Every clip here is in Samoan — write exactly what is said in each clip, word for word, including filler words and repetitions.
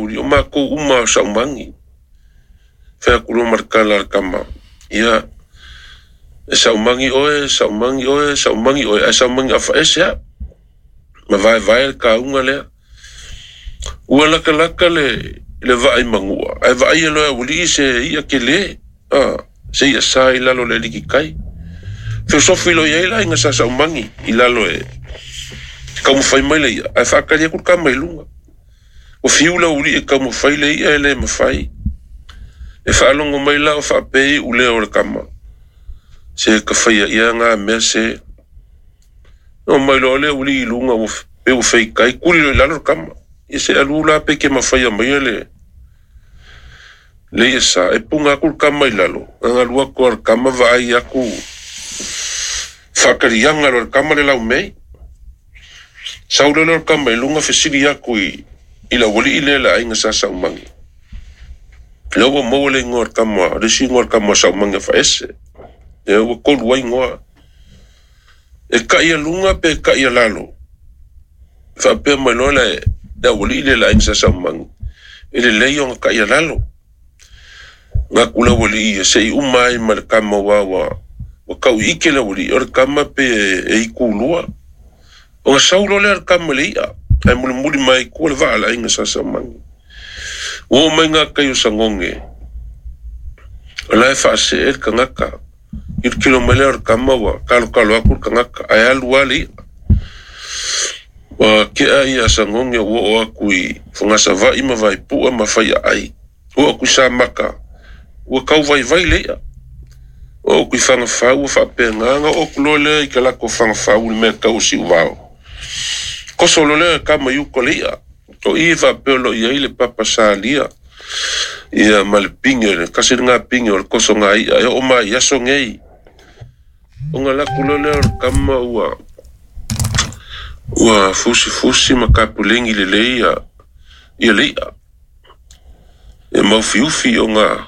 uli o makou uma o saumagi. Fai aku loa ma le tala a le kama, ia e saumagi oe, saumagi oe, saumagi oe, ae saumagi afaese a'u. Ma vaevae le kauga lea. Ua lakalaka le le vaai magua, ae vaaia loa e aualii se i'a kelē, a se i'a sa i lalo o le alikikai. Feosofi loa i ai le aiga sa saumagi i lalo e taumafai mai le i'a, ae faakali atu le kama i luga. Ua fiu le aualii e taumafai le i'a e lē mafai. E faalogo mai la o faapei iu lea o le kama. Se tafaia ia gā mea se. Oo mai loa le aualii i luga ua pe ua feitai, tuli loa i lalo le kama. Ia se alu la pe ke mafaia maia le le i'a sa, e puga atu le kama i lalo, gagalu atu a le kama vaai atu faakaliaga loa e le kama le laumei. Sau loa lea o le kama i luga fesili atu i i le aualii lea le aiga sa saumagi. Lea ua maua le igoa o le kama, le isi igoa o le kama o Saumagi Afaese. Lea ua tolu ai igoa. E taʻi luga pe taʻi lalo. Faapea mai loa le le aualii lea le aiga sa saumagi, e lelei ona taʻi lalo. Gatu le aualii ia seʻi uma ai ma le kama aua ua ua tauiike le aualii o le kama pe e itulua. Ona sau loa lea o le kama i le i'a, ae mulimuli mai ai tua le vaa a le aiga sa saumagi. Ua oo mai gatai o Sagoge, o la e faasee le tagata. Kilokilo mai lea o le kama ua talotalo atu le tagata, ae alu lava le i'a. Ua tea ia Sagoge ua oo atu i Fogasavaii ma Vaipua ma Faiaai. Ua oo atu i Samata, ua tauvaivai le i'a. Oo atu i Fagafau ua faapena ona oo atu loa lea i talaatu o Fagafau i le mea tau o Siuvao. Toso loa lea o le kama i uta o le i'a. O i e faapea o lo o i ai le papa salia ia ma le pine, le tasi lena pine o le tosoga i'a e oo mai i aso nei. Ona alu atu loa lea o le kama ua ua fusifusi ma tapuleni lelei ia ia le i'a. E maufiufi ona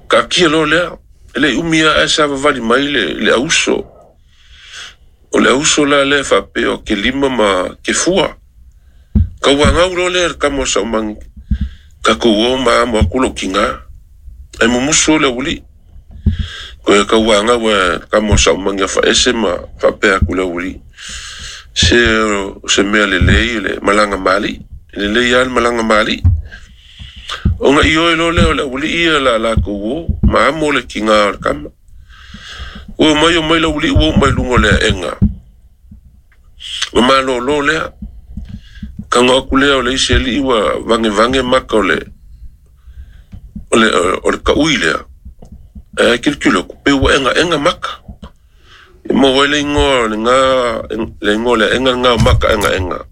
taatia loa lea. E le i umi lava ae savavali mai le, le auso. O le auso la lea e faapea o Kelima ma Kefua. Tauagau loa lea e le kama o Saumagi, tatou o ma amo atu lou tiga. Ae mumusu le aualii. Toe tauagau e le kama o Saumagi afaese ma faapea atu le aualii, se o se mea lelei le malaga ma alii. E lelei lava le malaga ma alii. Ona ioe loa lea o le aualii ia la latou o ma amo le tiga o le kama. Ua omai omai le aualii ua oo mai luga o le aega. Ua malōlō lea. Tago atu lea o le isi alii ua vagevaге maka o le o le o le taʻui lea. Ae kilokilo atu pe ua egaega maka. E maua ai le igoa o lena le igoa o le aega lena o maka egaega.